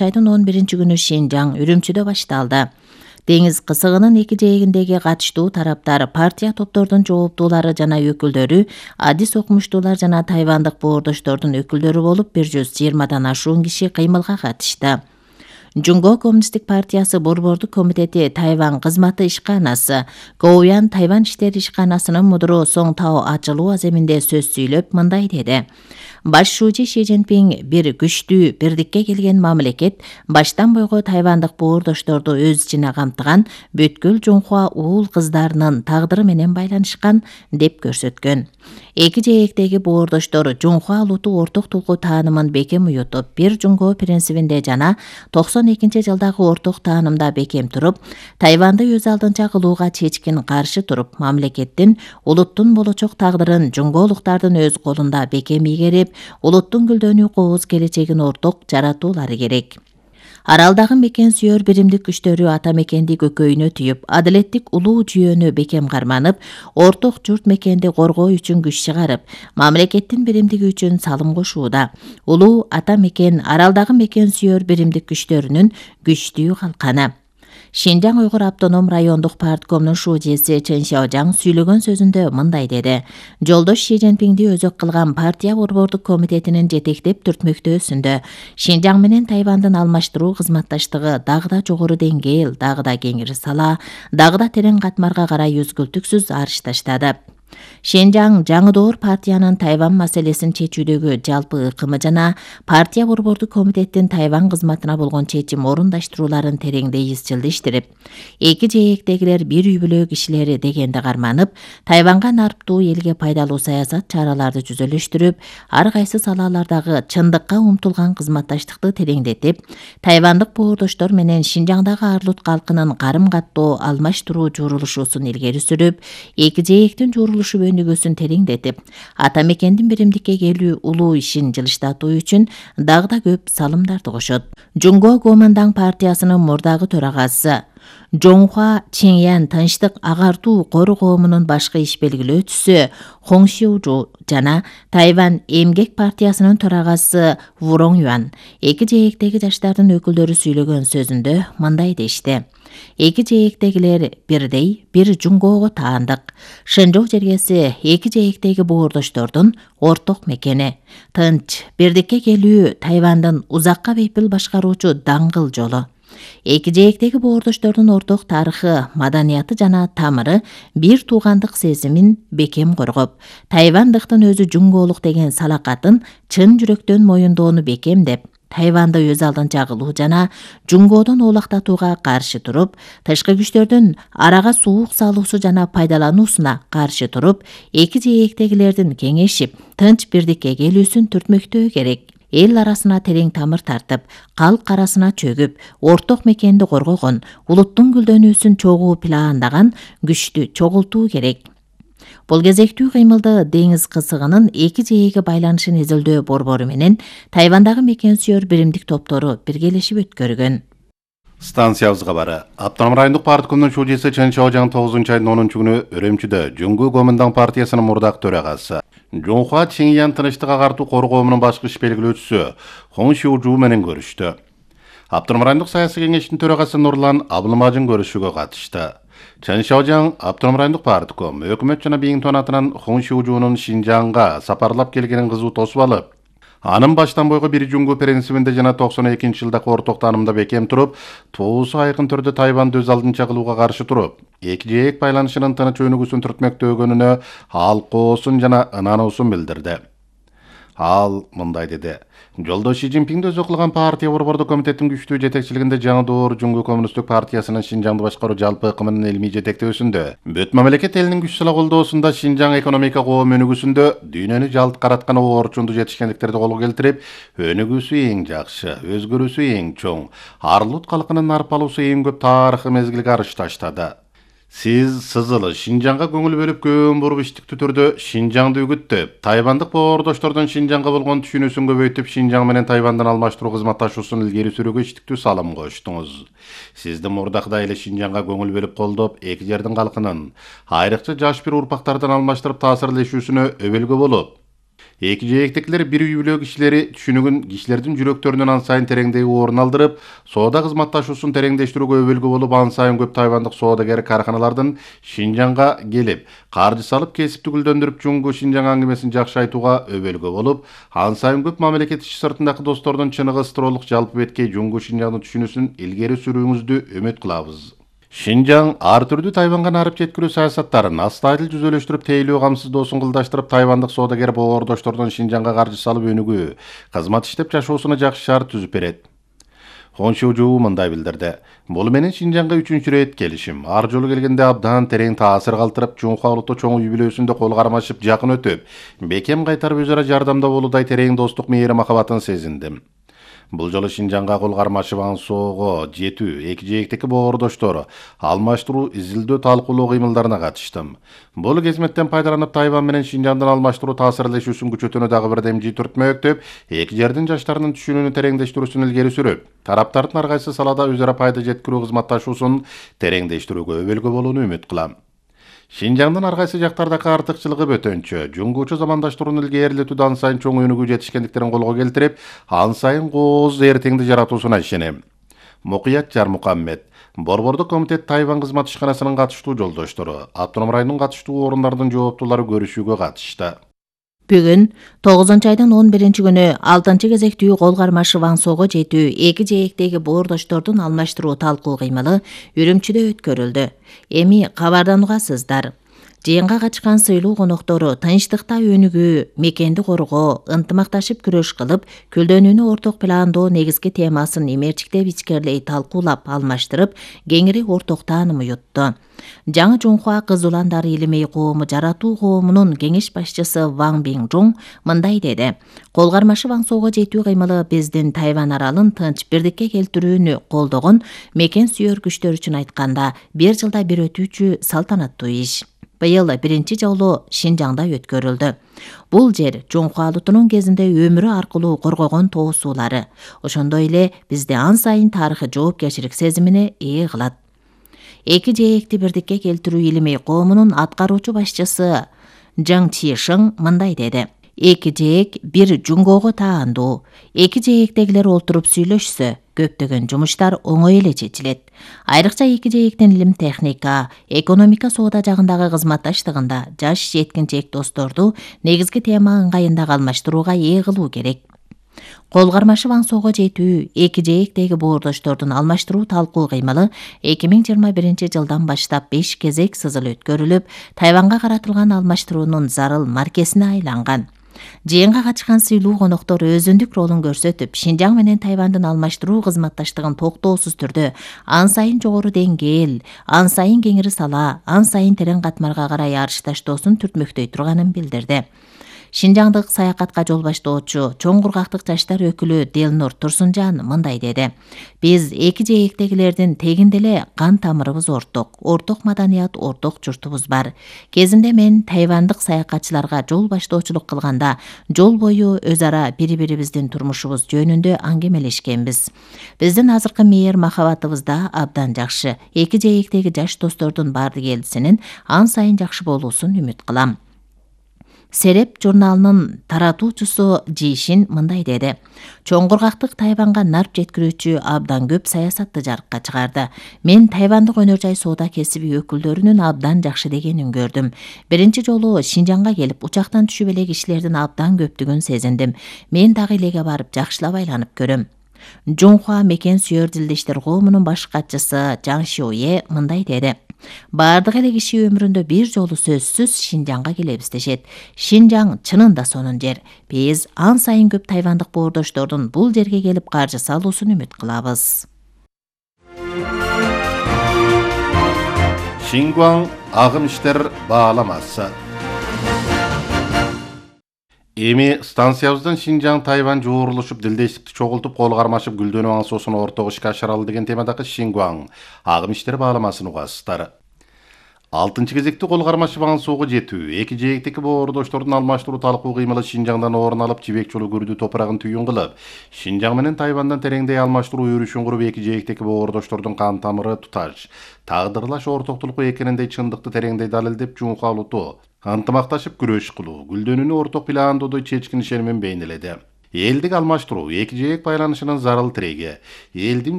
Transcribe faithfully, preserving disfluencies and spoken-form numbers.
айдын он биринчи күнү Шинжаң Үрүмчүдө башталды. Деңиз кысыгынын эки жээгиндеги катыштуу тараптар, партия топтордун жооптуулары жана өкүлдөрү, адис окумуштуулар жана тайвандык боордоштордун өкүлдөрү болуп бир жүз жыйырмадан ашуун киши кыймылга катышты. Жунго Коммунисттик партиясы борбордук комитети Тайвань кызматы ишканасы, Гоуян Тайвань иштери ишканасынын мудуру Соң Тао ачылуу аземинде сөз сүйлөп мындай деди. Баш шуучу Ши Цзиньпин бир күчтүү, бирдикке келген мамлекет баштан бойго тайвандык боордошторду өз ичине камтыган бүткүл Жунхуа уул кыздарынын тагдыры менен байланышкан деп көрсөткөн. Эки жээктеги боордоштор Жунхуа улуту орток тулку таанымын бекем уютуп, бир Жунго принцибинде жана токсон экинчи жылдагы орток таанымда бекем туруп, Тайванды өз алдынча кылууга чечкин каршы туруп, мамлекеттин, улуттун болочок тагдырын жунголуктардын өз колунда бекем ийгерип, улуттун гүлдөнүү кооз келечегин орток жаратуулары керек. Аралдагы мекен сүйөр биримдик күчтөрү ата мекенди көкөйүнө түйүп, адилеттик улуу жүйөнү бекем карманып, орток журт мекенди коргоо үчүн күч чыгарып, мамлекеттин биримдиги үчүн салым кошууда. Улуу ата мекен аралдагы мекен сүйөр биримдик күчтөрүнүн күчтүү калканы. Шинжаң Уйгур автоном райондук парткомдун шуучеси Чен Шаожаң сүйлөгөн сөзүндө мындай деди. Жолдош Ши Цзиньпинди өзөк кылган партия борбордук комитетинин жетектеп түртмөктөөсүндө Шинжаң менен Тайвандын алмаштыруу кызматташтыгы дагы да жогору деңгээл, дагы да кеңири сала, дагы да терең катмарга карай үзгүлтүксүз арыш таштады. Шинжаң жаңы доор партиянын Тайвань маселесин чечүүдөгү жалпы ыкымы жана партия борбордук комитеттин Тайвань кызматына болгон чечим орундаштырууларын тереңдей изчилдештирип, эки жээктегилер бир үй бүлө кишилери дегенди карманып, Тайванга нарптуу элге пайдалуу саясат чараларды жүзөлөштүрүп, ар кайсы салалардагы чындыкка умтулган кызматташтыкты тереңдетип, тайвандык боордоштор менен Шинжаңдагы арлут калкынын карым-каттоо алмаштыруу журулушуусун илгери сүрүп, эки жээктин журулушу өнүгүүсүн тереңдетип, ата мекендин биримдикке келүү улуу ишин жылыштатуу үчүн дагы да көп салымдарды кошот. Жунго Гоминдаң партиясынын мурдагы төрагасы Жоңхуа Чеңьян тынчтык агартуу кору коомунун башкы иш белгилөөчүсү Хоң Шиужу жана Тайвань эмгек партиясынын төрагасы Вуроң Юан эки жээктеги жаштардын өкүлдөрү сүйлөгөн сөзүндө мындай дешти. Эки жээктегилер бирдей, бир Жунгого таандык. Шэнжоу жергеси эки жээктеги боордоштордун орток мекени. Тынч, бирдикке келүү Тайвандын узакка бейпил башкаруучу даңгыл жолу. Эки жээктеги боордоштордун орток тарыхы, маданияты жана тамыры бир туугандык сезимин бекем коргоп, тайвандыктын өзү жунголук деген салакатын чын жүрөктөн моюндоону бекемдеп, Тайванды өз алдынча кылуу жана Жунгодон оолактатууга каршы туруп, тышкы күчтөрдүн арага суук салуусу жана пайдалануусуна каршы туруп, эки жээктегилердин кеңешип, тынч бирдикке келүүсүн түртмөктөө керек. Эл арасына терең тамыр тартып, калк арасына чөгүп, орток мекенди коргогон, улуттун гүлдөнүүсүн чогуу пландаган күчтү чогултуу керек. Бул кезектүү кыймылды деңиз кысыгынын эки жээги байланышын изилдөө борбору менен Тайвандагы мекен сүйөр биримдик топтору биргелешип өткөргөн. Станциябызга бары. Автоном райондук парткомдун шуучеси Чен Шаожаң тогузунчу айдын онунчу күнү Үрүмчүдө Жунго Гоминдаң партиясынын мурдак төрагасы Жоңхуа Чеңьян тынчтык агартуу кору коомунун башкы иш белгилөөчүсү Хоң Шиужу менен көрүштү. Автоном райондук саясий кеңештин төрагасы Нурлан Абылмажын көрүшүүгө катышты. Чен Шаожаң автоном райондук партком өкмөт жана Биңтон атынан Хоң Шиужунун Шинжаңга сапарлап келгенин кызуу тосуп алып, анын баштан бойго бир Жунго принцибинде жана токсон экинчи жылдагы орток таанымда бекем туруп, туусу айкын түрдө Тайванды өз алдынча кылууга каршы туруп, эки жээк байланышынын тыныч өнүгүүсүн түртмөктөгөнүнө алкоосун жана ынануусун билдирди. Ал мындай деди. Жолдош Ши Цзиньпинди өзөк кылган партия борбордук комитеттин күчтүү жетекчилигинде жаңы доор Жунго Коммунисттик партиясынын Шинжаңды башкаруу жалпы ыкымынын илмий жетектөөсүндө, бүт мамлекет элинин күч сала колдоосунда Шинжаң экономика коом өнүгүүсүндө дүйнөнү жалт караткан орчунду жетишкендиктерди колго келтирип, өнүгүүсү эң жакшы, өзгөрүүсү эң чоң, арлут калкынын нарпалуусу эң көп тарыхый мезгилге арыш таштады. Сиз сызылы Шинжаңга көңүл бөлүп көөн буруп иштиктүү түрдө Шинжаңды үгүттөп, тайвандык боордоштордун Шинжаңга болгон түшүнүүсүн көбөйтүп, Шинжаң менен Тайвандын алмаштыруу кызматташуусун илгери сүрүүгө иштиктүү салым коштуңуз. Сизди мурдакыдай эле Шинжаңга көңүл бөлүп колдоп, эки жердин калкынын, айрыкча жаш бир урпактардан алмаштырып таасирлешүүсүнө өбөлгө болуп, Эки жээктекилер бир үй бүлө кишилери түшүнүгүн кишилердин жүрөктөрүнөн ан сайын тереңдеги орун алдырып, соода кызматташуусун тереңдештирүүгө өбөлгө болуп, ан сайын көп тайвандык соодагер карканалардын Шинжаңга келип, каржы салып, кесипти гүлдөндүрүп, Жуңгу Шинжаң аңгемесин жакшы айтууга өбөлгө болуп, ан сайын көп мамлекет иши сыртындагы достордун чыныгы ысыролук жалпы беткей Жуңгу Шинжаңды түшүнүүсүн илгери сүрүүңүздү үмүт кылабыз. Шинжаң ар түрдүү Тайванга нарып жеткирүү саясаттарын астайыл жүзөлөштүрүп, тейлөө камсыздоосун кылдаштырып, тайвандык соодагер боордоштордун Шинжаңга каржы салып өнүгүү, кызмат иштеп жашоосуна жакшы шарт түзүп берет. Хоншужуу мындай билдирди. Бул менен Шинжаңга үчүнчү рет келишим. Ар жолу келгенде абдан терең таасир калтырып, Жунхва улуттуу чоң үй бүлөсүндө кол кармашып, жакын өтүп, бекем кайтарып өзара жардамда болуудай терең достук мээри махабатын сезиндим. Бул жолу Шинжаңга кол кармашып ан соого жетүү, эки жээктеги боордоштору алмаштыруу, изилдөө, талкуулоо кыймылдарына катыштым. Бул кезметтен пайдаланып, Тайвань менен Шинжаңдын алмаштыруу таасирлешүүсүн күчөтүүнү дагы бир демжи түртмөктөп, эки жердин жаштарынын түшүнүүнү тереңдештирүүсүн илгери сүрүп, тараптардын ар кайсы салада өзара пайда жеткирүү кызматташуусун тереңдештирүүгө өбөлгө болууну үмүт кылам. Шинжаңдын ар кайсы жактардагы артыкчылыгы бөтөнчө, Жуңгучу замандаштырууну илгерилетүүдө ан сайын чоң өнүгүү жетишкендиктерин колго келтирип, ан сайын кооз эртеңди жаратуусуна ишенем. Мукуят Жармукаммет, Борбордук комитет Тайвань кызмат ишканасынын катыштуу жолдоштору, автоном райондун катыштуу орундардын жооптуулары көрүшүүгө катышты. Бүгүн тогузунчу айдын он биринчи күнү алтынчы кезектүү кол кармашы Ваңсоого жетүү эки жээктеги боордоштордун алмаштыруу талкуу кыймылы Үрүмчүдө өткөрүлдү. Эми кабардан угасыздар. Жыйынга качкан сыйлуу коноктору тынчтыкта өнүгүү, мекенди коргоо, ынтымакташып күрөш кылып, күлдөнүүнү орток пландоо негизги темасын эмерчиктеп ичкерлей талкуулап, алмаштырып, кеңири орток тааным уютту. Жаңы Жунхва кыз уландар илимей коому жаратуу коомунун кеңеш башчысы Ваң Биңжуң мындай деди. Кол кармашы Ваңсоого жетүү кыймылы биздин Тайвань аралын тынч бирдикке келтирүүнү колдогон мекен сүйөр күчтөр үчүн айтканда бир жылда бир өтүүчү салтанаттуу иш. Быйыл биринчи жолу Шинжаңда өткөрүлдү. Бул жер Жунхва улутунун кезинде өмүрү аркылуу коргогон тоо суулары. Ошондой эле бизди ан сайын тарыхый жоопкерчилик сезимине ээ кылат. Эки жээкти бирдикке келтирүү илимей коомунун аткаруучу башчысы Жаң Чишиң мындай деди. Эки жээк бир Жуңгого таандуу. Эки жээктегилер олтуруп сүйлөшсө, көптөгөн жумуштар оңой эле чечилет. Айрыкча эки жээктин илим техника, экономика соода жагындагы кызматташтыгында жаш жеткинчек досторду негизги тема ыңгайындагы алмаштырууга ээ кылуу керек. Кол кармашы Ваңсоого жетүү эки жээктеги боордоштордун алмаштыруу талкуу кыймылы эки миң жыйырма биринчи жылдан баштап беш кезек сызыл өткөрүлүп, Тайванга каратылган алмаштыруунун зарыл маркесине айланган. Жыйынга качкан сыйлуу коноктор өзүндүк ролун көрсөтүп, Шинжаң менен Тайвандын алмаштыруу кызматташтыгын токтоосуз түрдө ан сайын жогору деңгээл, ан сайын кеңири сала, ан сайын терең катмарга карай арышташтоосун түртмөктөй турганын билдирди. Шинжаңдык саякатка жол баштоочу Чоң Кургактык жаштар өкүлү Делнур Турсунжан мындай деди. Биз эки жээктегилердин тегинде эле кан тамырыбыз орток, орток маданият, орток журтубуз бар. Кезинде мен тайвандык саякатчыларга жол баштоочулук кылганда жол бою өз ара бири-бирибиздин турмушубуз жөнүндө аңгемелешкенбиз. Биздин азыркы мээр махабатыбыз да абдан жакшы. Эки жээктеги жаш достордун бардыгелдисинин ан сайын жакшы болуусун үмүт кылам. Сереп журналынын таратуучусу Жишин мындай деди. Чоң Кургактык Тайванга нарп жеткирүүчү абдан көп саясатты жарыкка чыгарды. Мен тайвандык өнөр жай соода кесиби өкүлдөрүнүн абдан жакшы дегенин көрдүм. Биринчи жолу Шинжаңга келип, учактан түшүп эле кишилердин абдан көптүгүн сезиндим. Мен дагы элеге барып жакшылап айланып көрөм. Жунхва мекен сүйөр дилдештер коомунун баш катчысы Жаң Шиуе мындай деди. Бардык эле киши өмүрүндө бир жолу сөзсүз Шинжаңга келебиз дешет. Шинжаң чынында сонун жер. Биз ан сайын көп тайвандык боордоштордун бул жерге келип каржы салуусун үмүт кылабыз. Шингуаң агым иштер бааламасы. Эми станциябыздан Шинжаң Тайвань жуурулушуп, дилдештикти чогултуп, кол кармашып, гүлдөнүү аңсоосун ортого ишке ашыралы деген темадагы Шингуаң агым иштер бааламасын угасыздар. алтынчы кезекти кол кармашып Ваңсоого жетүү, эки жээктеги боордоштордун алмаштыруу талкуу кыймылы Шинжаңдан орун алып, Жибек жолу күрдүү топурагын түйүн кылып, Шинжаң менен Тайвандан тереңдей алмаштыруу өрүшүн куруп, эки жээктеги боордоштордун кан тамыры туташ, тагдырлаш ортоктулуку экениндей чындыкты тереңдей далилдеп, Жунхва улуту ынтымакташып күрөш кылуу, гүлдөнүүнү орток пландоодо чечкин ишеним менен бейнеледи. Элдик алмаштыруу эки жээк байланышынын зарыл тиреги, элдин